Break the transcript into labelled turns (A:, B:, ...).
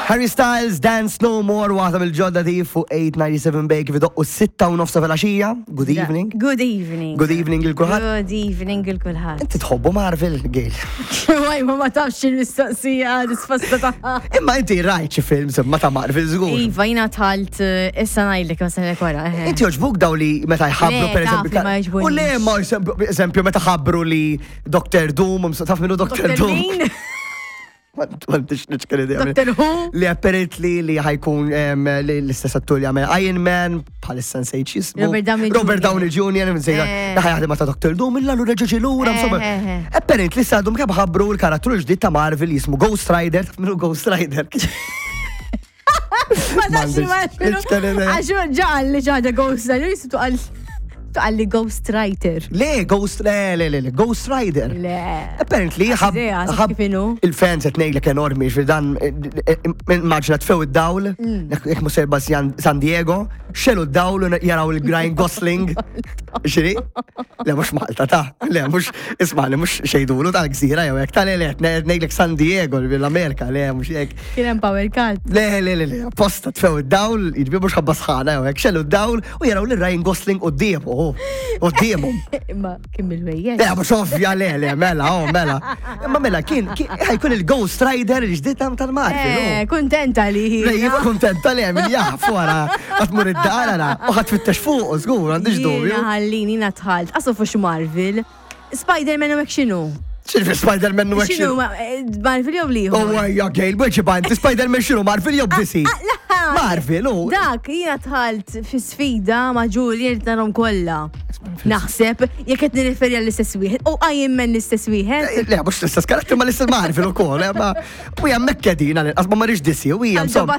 A: Harry Styles, Dance No More, waħda mill-ġodda di fuq 897 Bay kif idoqqu 6 u nofsa fil-għaxija. Good evening.
B: Good evening.
A: Good evening lil kulħadd.
B: Good evening lil kulħadd.
A: Inti tħobbu Marvel, Gail.
B: Waj, ma ma tafx il-mistoqsija risposta tagħha.
A: Imma inti rajt xi films imma ta' Marvel żgur.
B: Iva, jiena tħalt eh, issa ngħidlek ma sena wara. Eh.
A: Inti joġbuk daw li meta jħabbru
B: Le,
A: per eżempju.
B: taf li ma jogħġbunix.
A: U le ma eżempju meta ħabbru li Dr. Doom, taf minnu Dr.
B: Dr.
A: Doom.
B: Min?
A: M'għandix niċkel idea.
B: Dr. Who?
A: Li apparently li ħajkun em, li l-istess attur li għamel Iron Man, bħalissa nsejt x'jismu.
B: Robert Downey Jr.
A: Robert Downey Jr. nsejt.
B: Eh.
A: Li ħajaħdem ma' ta' Dr. Doom, illa lura ġoġi lura,
B: Eh,
A: insomma.
B: eh, eh.
A: Apparently sadhom kemm ħabbru l-karattru l-ġdid ta' Marvel jismu Ghost Rider, taf minnu Ghost Rider.
B: Ma tafx li ma
A: M'għandix niċkel idea.
B: Għax ġaqal li ġaġa Ghost Rider, jisu tuqal tuqal li Ghost Writer.
A: Le, Ghost, le, le, le, le, Ghost Rider.
B: Le.
A: Apparently, ħab.
B: Idea, sa
A: ħab
B: kif inhu.
A: Il-fans qed ngħidlek enormi, ġifieri dan eh, eh, immaġina tfew id-dawl, jekk mhux serba San Diego, xelu d-dawl u jaraw il-Ryan Gosling. Xiri? Le mhux Malta ta' le mhux ismani mhux xejdulu tal-gżira jew hekk ta' le le qed ngħidlek San Diego l-Amerika, le mhux hekk.
B: Kien hemm power cut.
A: Le, le, le, le, apposta tfew id-dawl, jiġifieri mhux ħabba sħana jew hekk, xelu d-dawl u jaraw lil Ryan Gosling quddiemu, oh, quddiemhom.
B: Imma kien bil-wejjex.
A: Le, mhux ovvja, le, le, mela, oh, mela. Imma mela, kien, kien- ħajkun il-Ghost Rider il-ġdid tal-Marvel.
B: Eh,
A: oh.
B: kuntenta li.
A: Le, jien kuntenta li min jaf wara, għatmur id-dar għara, u ħat fittex fuq, żgur, għandix dubju.
B: Jiena ħallini jiena tħalt. Asu fux Marvel. Spider-Man u hekk x'inhu?
A: X'inhu Spider-Man u hekk
B: X'inhu
A: x'inhu?
B: eh, Marvel jew liħor?
A: Oh, ejja, Gail, weġiba inti Spider-Man x'inhu Marvel jew DC?
B: Ah,
A: Marvel, u.
B: Dak, jiena tħalt fi sfida ma' Julian narhom kollha. Naħseb, jekk qed nirreferi għall-istess wieħed, u Iron Man l-istess wieħed.
A: Eh, Le, mhux l-istess karattru ma l-istess Marvel ukoll, eh, ma u hija mekkedina l-inqas ma marriġ DC u hija insomma.